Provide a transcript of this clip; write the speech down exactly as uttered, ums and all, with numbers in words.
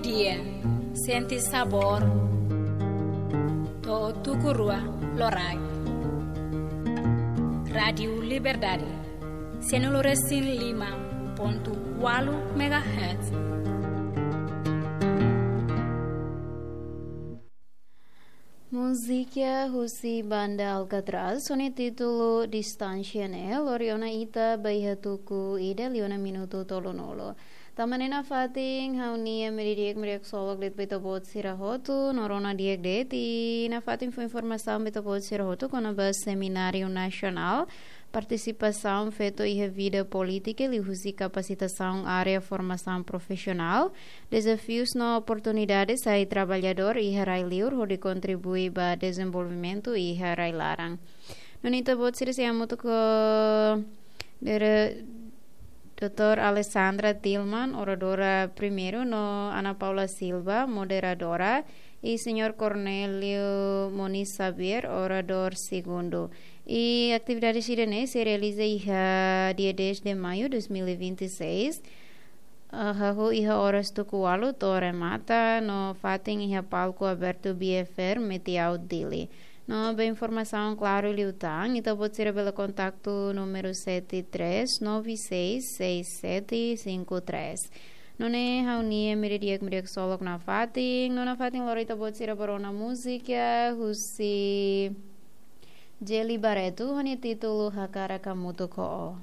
Dia, sente sabór. To'o tuku rua loraik. Rádiu Liberdade, sianulu resin lima pontu ualu megahertz. Múzika husi banda Alcatraz, ho nia títulu Distánsia ne'e, lori ona ita ba iha tuku ida liu ona minutu tolunulu. Tanba ne'e nafatin, ha'u-nia media di'ak, media ksolok de'it ba ita-boot sira hotu, no rona di'ak de'it, i nafatin fó informasaun ba ita-boot sira hotu kona-ba Semináriu Nasionál, Partisipasaun feto iha vida polítika liuhusi kapasitasaun área formasaun profisionál, dezafius no oportunidades sai traballadór iha rai-liur hodi kontribui ba dezenvolvimentu iha rai-laran. Nune'e ita-boot sira sei hamutuk ho Dere-, doutora Alessandra Tillman, oradora primeiru, no Ana Paula Silva, moderadora, i Señór Cornélio Moniz Xavier, oradór segundu. I atividade sira-ne'e sei realiza iha dia dez de maio dois mil e vinte e seis, ah, hahú iha oras tuku ualu to'o remata, no fatin iha palku abertu B F R Metiau Dili. No ba informasaun klaru liután, ita-boot sira bele kontaktu númeru sete três nove seis seis sete cinco três. Nune'e ha'u-nia media di'ak, media ksolok nafatin, no nafatin lori ita-boot sira ba rona múzika husi Jelly Barreto, ho nia títulu Hakarak Hamutuk ho Ó.